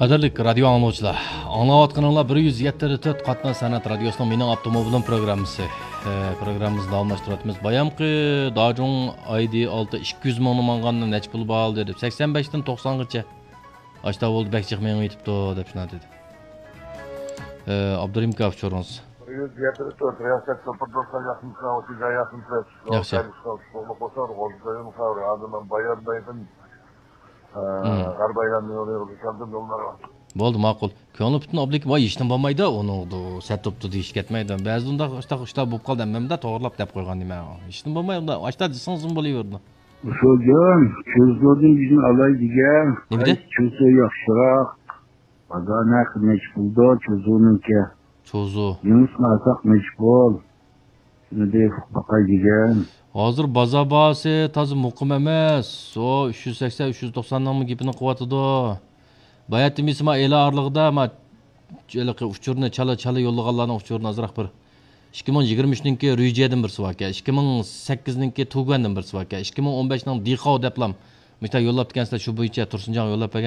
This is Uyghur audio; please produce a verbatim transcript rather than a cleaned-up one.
قەدىرلىك رادىيو ئاڭلىغۇچىلار، ئاڭلاۋاتقىنىڭلار بىر يۈز يەتتە نۇقتا تۆت قاتناش سەنئەت رادىيوسىنىڭ مېنىڭ ئاپتوموبىلىم پروگراممىسى. ئە، پروگراممىمىزنى داۋاملاشتۇرۇۋاتىمىز. بايامقى داجۇڭ ئايدى ئالتە ئىككى يۈز مىڭنى ماڭغاندا نەچچە پۇل بولدى دەپ، سەكسەن بەشتىن توقسانغىچە ئاشتا بولدى، بەك جىق مېڭىۋېتىپتۇ دەپ شۇنداق دېدى. ئە، ئابدۇرېھىم ئاكا، ئۇچۇرىڭىز. بىر يۈز يەتتە نۇقتا تۆت رىياسەت سوپۇر دوستلار ياخشىمۇسىلەر، ئوتتۇز ياخشىمۇسىلەر؟ ياخشى. ئۇتۇقلۇق بولسا، غوزا دايىم خەۋەر، ئادەم بايان دايدىن. ئە، مم. غەربىي ئايلانما يولى يولدا كەلدىم، يوللار. بولدى، ماقۇل. كۆڭلى پۈتۈن ئوبلىكى، ۋاي، ھېچنېمە بولمايدۇ، ئۇنىڭدۇ سەت بوپتۇ دېيىش كەتمەيدۇ. بەزىدە ئۇنداق ئىشتا، ئىشتا بولۇپ قالدى، ھەممەمدە توغرىلاپ دەپ قويغان نېمە. ھېچنېمە بولماي، ئۇنداق ئاشتا دېسىڭىزمۇ بولۇۋېرىدۇ. ئۇسۇلجان، چوزۇدىن بىزنى ئالاي دېگەن. نېمە دېدى؟ قايسى چوزۇ ياخشىراق؟ بازار نەقى نەچچە پۇلدۇ چوزۇنىڭكى؟ چوزۇ. يېڭىسىنى ئالساق نەچچە پۇل؟ شۇنى بېرىپ باقاي دېگەن. ھازىر بازار باھاسى تازا مۇقىم ئەمەس. ئۇ ئۈچ يۈز سەكسەن، ئۈچ يۈز توقساننىڭمۇ گېپىنى قىلىۋاتىدۇ. باياتىن بىز ما ئېلان ئارىلىقىدا ما ھېلىقى ئۇچۇرنى چالا، چالا يوللىغانلارنىڭ ئۇچۇرىنى ئازراق بىر. ئىككى مىڭ يىگىرمە ئۈچنىڭكى رۈيجيەدىن بىرسى باركەن، ئىككى مىڭ سەككىزنىڭكى تۇگۇەندىن بىرسى باركەن، ئىككى مىڭ ئون بەشنىڭ دىخاۋ دەپلام مۇشتا يوللاپتىكەنسىلەر، شۇ بويىچە تۇرسۇنجانغا يوللاپ بەرگەن.